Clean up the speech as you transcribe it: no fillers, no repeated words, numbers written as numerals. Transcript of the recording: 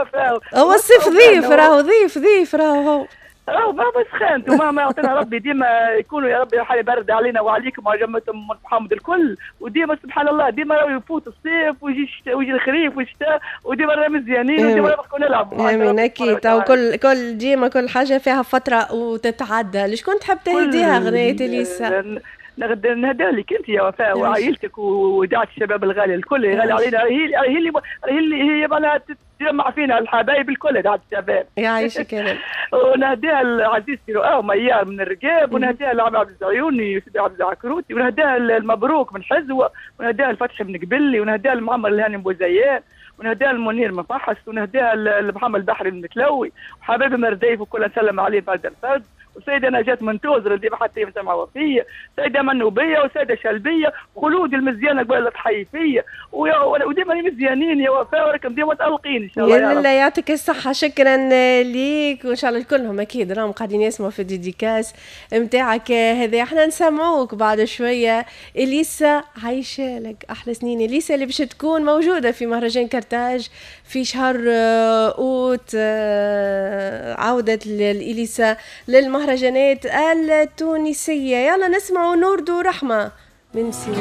وفاء. هو الصيف ضيف، راهو ضيف ضيف راهو هو. راهو ما سخنت وما ما يعطينا ربي، ديما يكونوا يا ربي حالي برد علينا وعليكم وعلى جمة محمد الكل. وديما سبحان الله ديما راهو يفوت الصيف ويجي ويجي الخريف والشتاء، وديما رانا مزيانين وديما نبقوا نلعبوا. امين اكيد. كل ديما كل حاجة فيها فترة وتتعدى. لشكون تحب تهديها اغنية اليسا؟ نهدى لك انت يا وفاء وعائلتك ودعاة الشباب الغالي الكل غالي علينا، هي اللي معناها تجمع فينا الحبايب الكل، دعاة الشباب. يعيشك يا رب. ونهديها لعزيزتي رؤى وميار من الرقاب، ونهديها لعم عبد العيوني وسيدي عبد العكروتي، ونهديها المبروك من حزوه، ونهديها الفتحي من قبلي، ونهديها لمعمر الهاني بوزيان، ونهديها المنير من فحص، ونهديها لمحمد البحري من متلوي، وحبايبي مرديف وكل نسلم عليه فرد الفرد، وسيدة نجاة من توزر اللي حتى سمع وفية، سيدة منوبية، وسيدة شلبية، خلود المزيانة قبل تحيي فيا، وديما مزيانين يا وفاء، وراكم ديما متألقين إن شاء الله. يا الله يعطيك الصحة، شكرا ليك، وإن شاء الله كلهم أكيد راهم قاعدين يسمعوا في ال dédicace نتاعك هذا. احنا نسمعوك بعد شوية إليسا، عايشة لك أحلى سنين. إليسا اللي باش تكون موجودة في مهرجان كرتاج في شهر أوت، عودة الإليسا للمهرجانات التونسية. يلا نسمعوا نور دو رحمة من سيرين.